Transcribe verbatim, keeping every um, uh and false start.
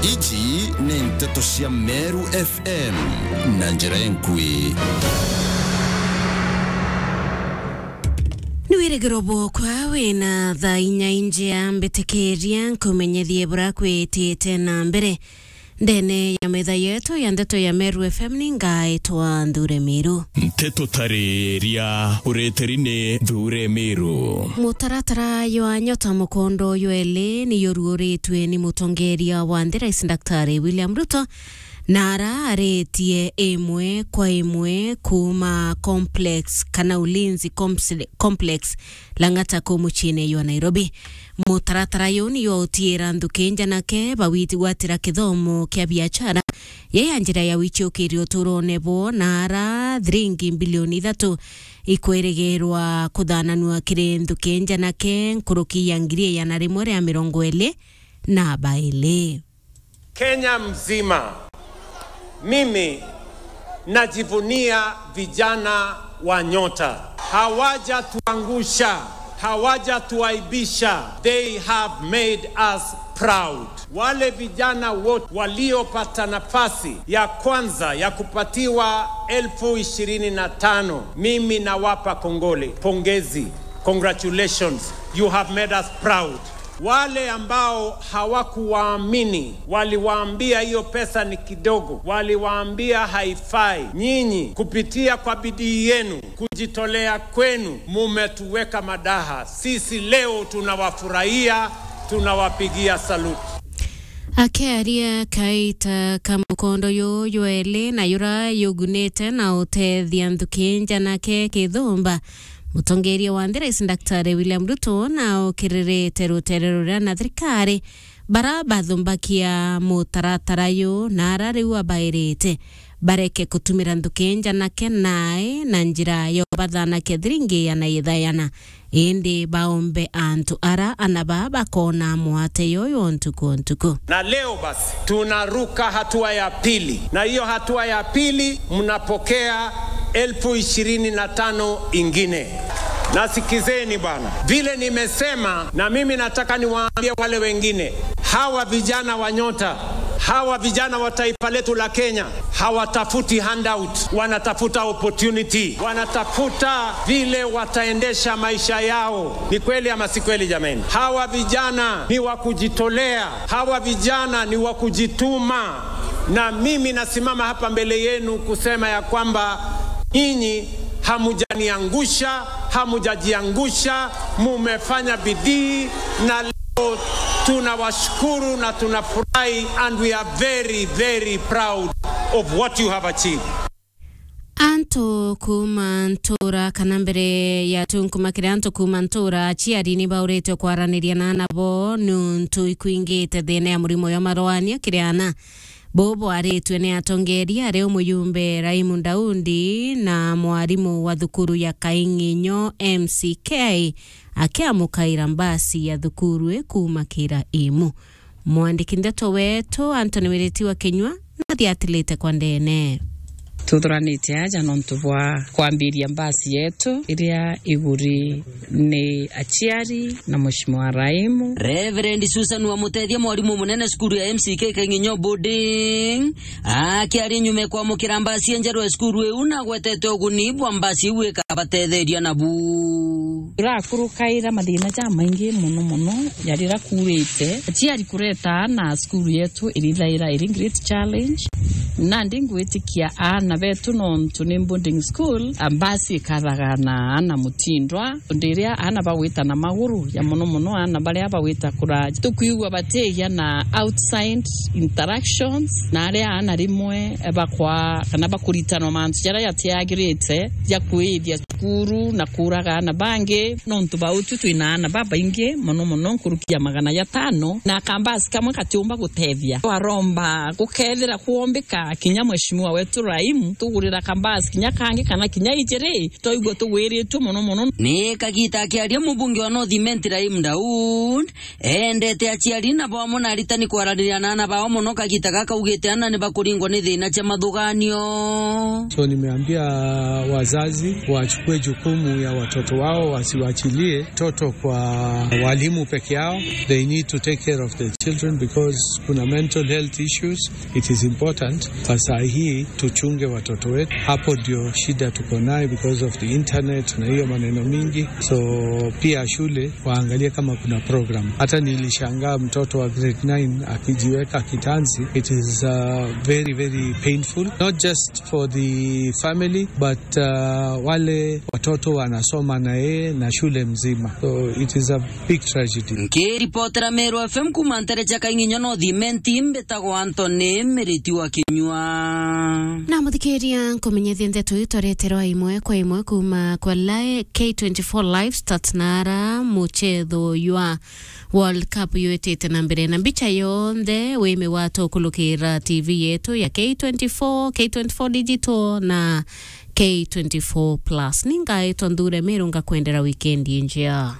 Iji ni nteto cia Meru F M na njira enkui. Ni wirigiro bwokwa wina thaa inya injia, mbitikiria nkumenyethie bura kwitite na mbere. Ndene ya metha yetu ya ndeto ya Meru F M ni ngaitwa Nthure Miru. Nteto tariria ureteri ni Nthure Miru. Mutaratara jwa Nyota mukondo jweli ni juruuritwe ni mutongeria wa nthi, Rais Daktari William Ruto, na ara aritie imwe kwa imwe kuuma Complex kana Ulinzi Comps-, Complex Lang'ata kuu muciine jwa Nairobi. Mutaratara juu ni jwa utiira nthuki njanake bawiti gwatira kithomo kia biachara, ya, ya njira ya wichiukiria uturone bwoo, na ara thiringi mbilioni ithatu ikwirigirwa kuthananua kiri nthuki njanake nkuruki ya ngiri igana rimwe ria mirongo iri na bairi. Kenya mzima, mimi najivunia vijana wa Nyota. Hawajatuangusha, hawajatuaibisha. They have made us proud. Wale vijana wote waliopata nafasi ya kwanza ya kupatiwa elfu ishirini na tano, mimi nawapa kongole, pongezi, congratulations, you have made us proud. Wale ambao hawakuwaamini, waliwaambia hiyo pesa ni kidogo, waliwaambia haifai, nyinyi kupitia kwa bidii yenu, kujitolea kwenu, mumetuweka madaha. Sisi leo tunawafurahia, tunawapigia salute. Akiaria kaita ka mukondo juu jweli na jura jugunite na utethia nthuki njanake kithumba, mutongeria wa nthi, Rais Daktari William Ruto, na ukiririte rutere ruria na thirikari bara bathumbakia mutaratara juu, na ara riu abairite bareke kutumira nthuki njanake nae na njira ya ubathanakia thiringi igana ithayana, indi baombe antu ara ana baa bakona mwate yoyo ntuku o ntuku. Na leo basi, tunaruka hatua ya pili. Na hiyo hatua ya pili, mnapokea elfu ishirini na tano ingine. Na sikizeni bwana, vile nimesema, na mimi nataka niwaambie wale wengine, hawa vijana wa Nyota, hawa vijana wa taifa letu la Kenya, hawatafuti handout, wanatafuta opportunity, wanatafuta vile wataendesha maisha yao. Ni kweli ama si kweli, jameni? Hawa vijana ni wa kujitolea, hawa vijana ni wa kujituma, na mimi nasimama hapa mbele yenu kusema ya kwamba nyinyi hamujaniangusha, hamujajiangusha, mumefanya bidii, na leo tunawashukuru na tunafurahi, and we are very, very proud of what you have achieved. Antu kuuma ntuura, kana mbere ya tunkumakire antu kuuma ntuura, aciari ni baurite kwaraniria na ana bo niuntu ikwingite thiina ya murimo jwa marwania kiri ana. Buu bwaritue ni atongeria, ari o mujumbe Raimu Daudi na mwarimu wa thukuru ya Kaing'inyo M C K akiamukaira mbasi ya thukuru ii kuuma Kira Imu. Mwandiki ndeto wetu Anthony Wiriti wa Kinyua nathiatilite kwa ndene. Tuthuranite aja nontu bwa kwambiria mbasi yetu iria iguri ni aciari na Mheshimiwa Raimu. Reverend Susan Wamutethia, mwarimu munene cukuru ya M C K Kaing'inyo Boarding, akiaria nyuma ya kwamukira mbasi njerwa ya cukuru iu, na agwetete uguni bwa mbasi iu ikabatetheria nabu. Turakurukaira mathina jamaingi mono mono ja riria kuurite, aciari kureta aana cukuru yetu irithaira iri great challenge. Nandi ngwitikia aana betu, nontu ni boarding school, a mbasi ikathaga na aana mutindwa. Riria aana bagwita na maguru, ja mono mono aana baria bagwita kuraja, tukwigua batigia na outside interactions, na aria aana rimwe bakwa-, kana bakuritanwa mantu jaria jatiagirite, ja kwithia cukuru na kuuraga aana bangi, nontu ba utu twina aana babaingi mono mono, nkuruki ya magana jatano, na kambasi kamwe gatiumba gutethia. Twaromba gukethira kwombika Kinya mheshimiwa wetu Rahim, tugurira kambasi kinya kangi kana kinya ijiri, twaigua tugwiritue mono mono. Ni kagita akiaria mubunge wa North Imenti Rahim Daud, eendete aciari na bamwe na aritani kwaraniria na ana bao mono kagita gaka, augite ana ni bakuringwa ni thina cia mathuganio. So nimeambia wazazi wachukue jukumu ya watoto wao, wasiwachilie mtoto kwa walimu peke yao. They need to take care of the children because kuna mental health issues. It is important kwa saa hii tuchunge watoto wetu. Hapo ndio shida tuko nayo because of the internet na hiyo maneno mingi. So pia shule waangalie kama kuna program. Hata nilishangaa mtoto wa grade nine akijiweka kitanzi. It is, uh, very, very painful, not just for the family, but, uh, wale watoto wanasoma na yeye na shule mzima. So it is a big tragedy. Nkiripotera Meru F M kuma ntere cia Kainginyo North Imenti, mbitagwa Anthony Miriti wa Kinyua. Na muthikiria, nkumenyethie ndeto iu twareterwa imwe kwa imwe kuma kwa Live K twenty-four Live Stats na ara muchetho jwa World Cup yutite na mbere, na mbicha yonthe wi migwate ukulukira T V yetu ya K twenty-four, K twenty-four Digital na K twenty-four Plus. Ningaitwa Nthure Meru, ngakwendera wikendi njea.